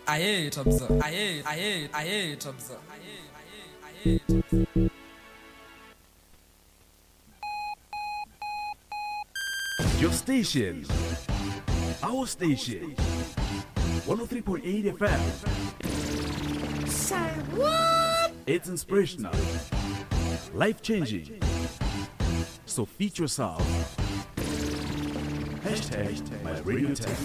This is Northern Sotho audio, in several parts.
Aye, Tobza. Aye, aye, aye, Tobza. Aye, aye, Tobza. Your station. Our station. 103.8 FM. Say what? It's inspirational. Life changing. So feed yourself. Hashtag my radio tech.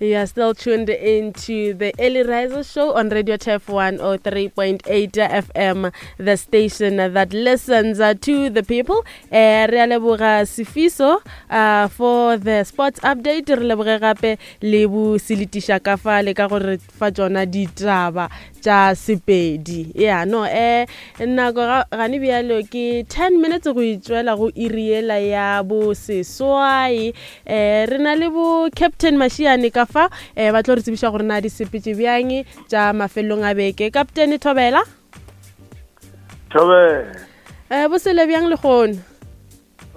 You are still tuned into the Early Riser Show on Radio Turf 103.8 FM, the station that listens to the people. Eh, re a leboga Sifiso uh, for the sports update. Re leboge gape le bo seletiša ka fa le ka gore fa tšona ditaba tša Sepedi. Ya, no, eh, nako ga, gane bjalo ke 10 minutes go itšwela go iri yela ya bo seswai. Eh, re na le bo Captain Mashiane ka fa, eh, ba tlo re tsebiša gore na di sepetše bjang tša mafelelong a beke. Captain Thobela? Thobela. Eh, bo sele bjang lehono?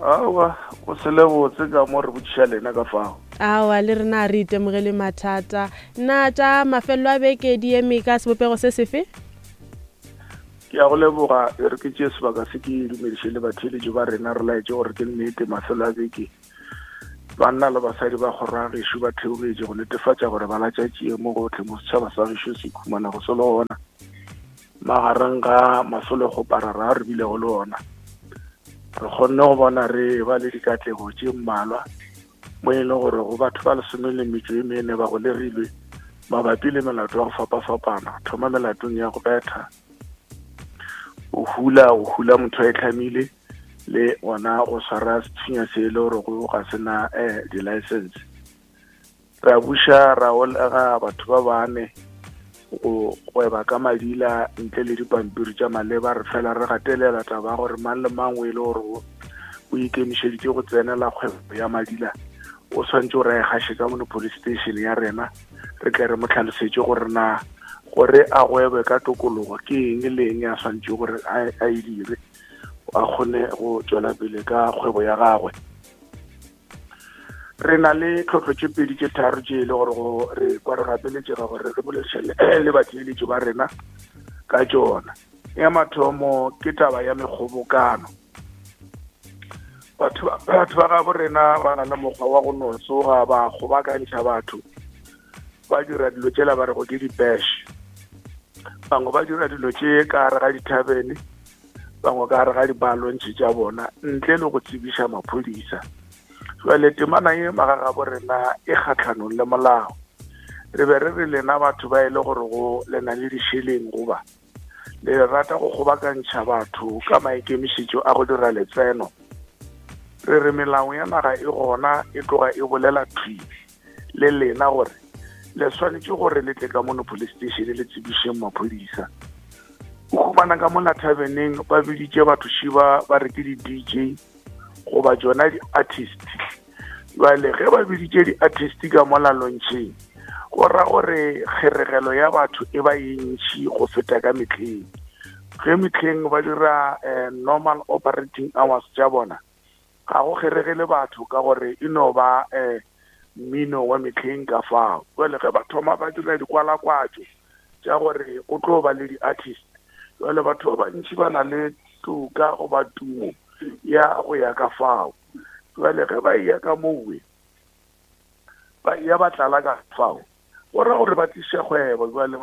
Aowa, go se le botse ka mo re botšiša lena ka fao. Aowa, le rena a re itemogele mathata. Na tša mafelelo a beke di eme ka sebopego se sefe? Ke a go leboga, e re ke tšee sebaka se ke dumediše le batheeletši ba rena, re laetše gore ke nnete mafelo a beke banna le basadi ba kgoro ya gešo ba theogetše go netefatša gore ba latša tšie mo gohle mo setšhaba sa gešo se ikhumanago se le gona. Magareng ga masolokgoparara a re bilego le ona, re kgonne go bona re ba le dikatlego tše mmalwa mo e leng gore go batho ba lesome le metšo e mene ba golegilwe mabapi le melato ya go fapafapana, thoma melatong ya go betha, go hula, go hula motho a e tlhamile, le gona go swara sethunya se e le gore go ga sena um di-license. Ra buša ra olega batho ba bane go gweba ka madila ntle le dipampiri tša maleba. Re fela re gatelela taba ya gore mang le mang o e le gore o ikemišeditše go tsenela kgwebo ya madila o swanetše gore a e gaše ka mono police station ya rena, re tle re mo tlhalosetše gore na gore a gwebe ka tokologo ke eng le eng a swanetše gore a e dire a kgone go tšwela pele ka kgwebo ya gagwe. Re na le tlhohlo tše pedi tše tharo tše e le gore go re kwa re gapeletšega gore re boledišane le batheeletši ba rena ka tšona. Ya mathomo ke taba ya mekgobokano. Batho batho ba gabo rena ba na le mokgwa wa go no tsoga ba kgobakantšha batho ba dira dilo tšela ba rego ke di-bash. Bangwe ba dira dilo tše ka gare ga dithabene, bangwe ka gare ga dibalontšhe tša bona ntle le go tsebiša maphodisa. Jwale temana ye magagabo rena e kgahlanong le molao. Re be re re lena batho ba e le gore go le na le dišeleng goba le rata go kgobakantšha batho ka maikemišetšo a go dira letseno. Re re melao ya naga e gona e tloga e bolela thwi le lena gore le swanetše gore le tle ka mono police station le tsebišeng maphodisa. O humana ka mona thabeneng ba biditše batho šiba ba re ke di-DJ goba tšona di-artist. Jwale ge ba biditše di-artist ka mola lontšheng, go ra gore kgeregelo ya batho e ba ye ntšhi go feta ka mehleng. Ge mehleng ba dira eh, normal operating hours tša bona, ga go kgeregele batho ka gore e no ba eh, mmino wa mehleng ka fao. Jwale ge ba thoma ba dira dikwalakwatšo tša gore go tlo ba le di-artist, jwale batho ba bantši ba na le toka goba tumo ya go ya ka fao. Jwale ge ba eya ka mowe, ba eya ba tlala ka fao, go ra gore ba tliše kgwebo. Jwale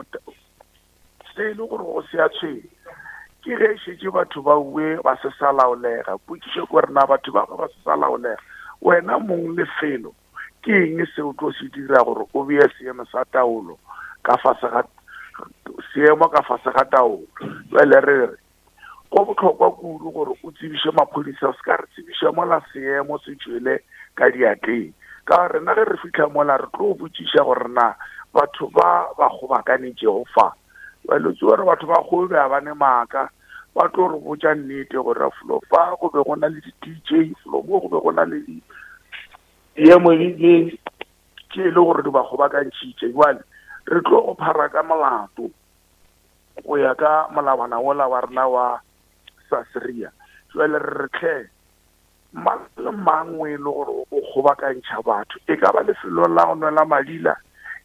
se e le gore go se a tshwenya ke ge e šetše batho ba uwe ba se sa laolega. Potšišo ke gore na batho ba ba se sa laolega, wena mong lefelo ke eng se o tlo se dira gore o bee seemo sa taolo ka fase ga seemo ka fase ga taolo? Jwale re re go bohlokwa kudu gore o tsebiše maphodisa, o se ka re tsebiša mola seemo se tšwele ka diatleng. Ka gore rena ge re fihla mola re tlo botšiša gore na batho ba ba kgobakanetšego fa, jwale o tsebe gore batho ba kgobe ga ba ne maaka, ba tlo re botša nnete gore felo fa go be go na le di-D_J, felo mo go be go na le diemo le tše e le gore di ba kgobakantšhitše. Jwale re tlo go phara ka molato go ya ka molawana wola wa rena wa Sasria. Jwale re re tlhe. Mang le mang o e le gore o kgobakantšha batho, e ka ba lefelong la go nwela madila,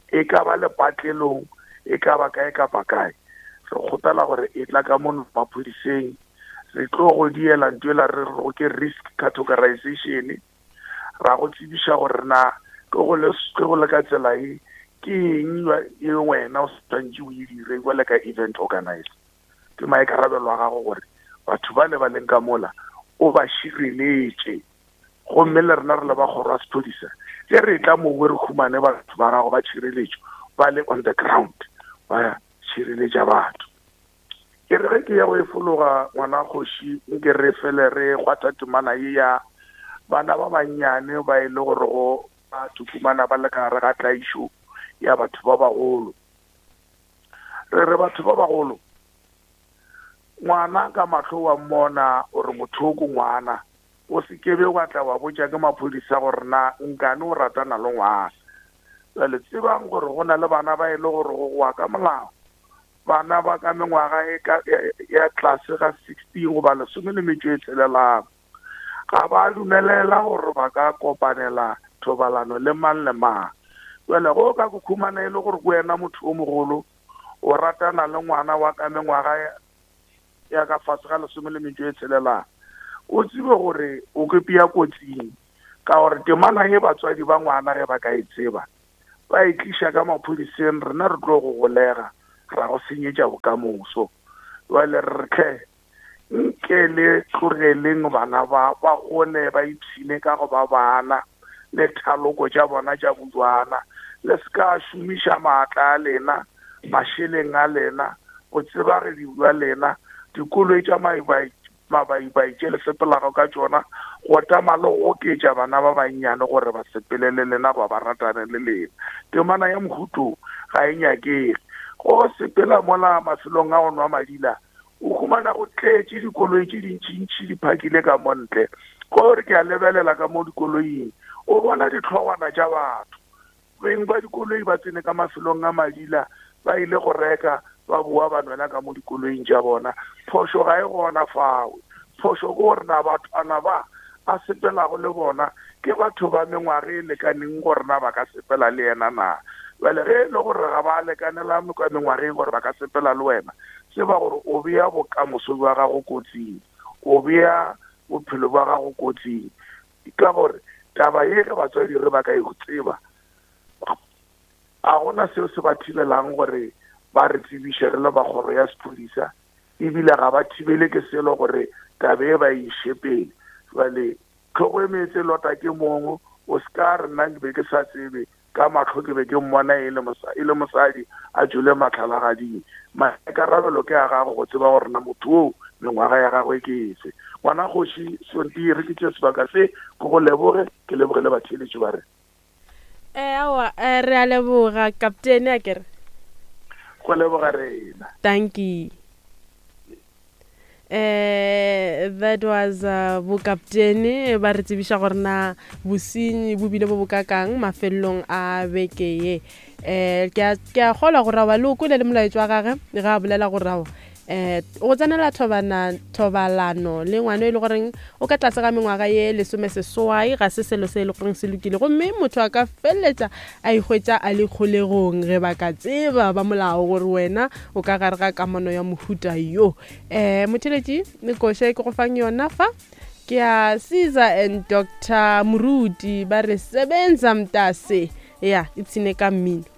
e ka ba lepatlelong, e ka ba kae kapa kae, re kgopela gore e tla ka mono maphodiseng, re tlo go diela nto ela re rego ke risk categorization, ra go tsebiša gore na ke go le ke go le ka tsela e ke eng e wena o swantše o e dire jwale ka event organizer. Ke maikarabelo a gago gore batho ba le ba leng ka mola o ba šireletše. Gomme le rena re le ba kgoro ya sephodisa, ge re etla mowe re humane batho ba gago ba tšhireletšo ba le on the ground ba šireletša batho. Ke re ge ke ya go e fologa ngwana kgoši, nke re fele re kgwatha temana ye ya bana ba bannyane ba e le gore go ba tukumana ba le ka gare ga tlaišo ya batho ba bagolo. Re re batho ba bagolo, ngwana ka mahlo wa mmona o re motho ko ngwana, o se ke be wa tla wa botša ke maphodisa gore na nkane o ratana le ngwana. Jwale tsebang gore go na le bana ba e le gore go goa ka molao, bana ba ka mengwaga e ka ya tlase ga 16 goba lesome le metšo e tshelelang, ga ba dumelela gore ba ka kopanela thobalano le mang le mang. Jwale go ka go khumana e le gore ke wena motho o mogolo o ratana le ngwana wa ka mengwaga ya ka fase ga lesome le metšo e tshelelang, o tsebe gore o ke pea kotsing, ka gore temana ye batswadi ba ngwana ge ba ka e tseba ba e tliša ka maphodiseng, rena re tlo go golega ra go senyetša bokamoso. Jwale re re tlhe nke le tlogeleng bana ba ba gole ba ipshine ka go ba bana le thaloko tša bona tša bojwana. Le se ka šomiša maatla a lena, mašeleng a lena, botsebagedi bja lena, dikoloi tša mabaibai tše le sepelago ka tšona, go tama le go oketša bana ba bannyane gore ba sepele le lena goba ba ratane le lena. Temana ya mohuto ga e nyakege. Go sepela mola mafelong a go nwa madila, o humana go tletše dikoloi tše dintšintši di phakile ka mo ntle. Gore ke a lebelela ka mo dikoloing, o bona dihlogwana tša batho. Beng ba dikoloi ba tsene ka mafelong a madila, ba ile go reka, ba boa ba nwela ka mo dikoloing tša bona. Phošo ga e gona fao. Phošo ke gore na bathwana ba a sepelago le bona ke batho ba mengwaga e lekaneng gore na ba ka sepela le yena na. Bjale ge e le gore ga ba lekanela ka mengwageng gore ba ka sepela le wena, tseba gore o bea bokamoso bja gago kotsing, o bea bophelo bja gago kotsing. Ka gore taba ye ge batswadi re ba ka e tseba, ga gona seo se ba thibelang gore ba re tsebiše re le ba kgoro ya sephodisa, ebile ga ba thibele ke selo gore taba e ba e iše pele. Jwale tlhogo e meetse lota ke mong, o se ka re nna ke be ke sa tsebe, ka mahlo ke be ke mmona e le e le mosadi a tšwele mahlalagading. Maikarabelo ke a gago go tseba gore na motho oo mengwaga ya gagwe ke efe. Ngwana kgoši Sonti, re ke tše sebaka se ke go leboge, ke leboge le batheeletši ba rena. Aowa, re a leboga kaptene, a kere. Go leboga rena. Dankie. Eh, that was uh, bokaptene ba re tsebiša gore na bosenyi bo bile bo bokakang mafelelong a beke ye. Eh, ke a kgolwa gore aowa le o kwele le molaetšo wa gage ge a bolela gore aowa eh go tsenela thobana thobalano le ngwana e le goreng o ka tlase ga mengwaga ye lesomeseswai ga se selo se e le goreng se lokile, gomme motho a ka feleletša a ihwetša a le kgolegong ge ba ka tseba ba molao gore wena o ka gare ga kamano ya mohuta yo. Um motheletši koša e ke go fang yona fa ke ya Caesar and Doctor Moruti, ba re sebenza mntase. Ya ipshine ka mmino.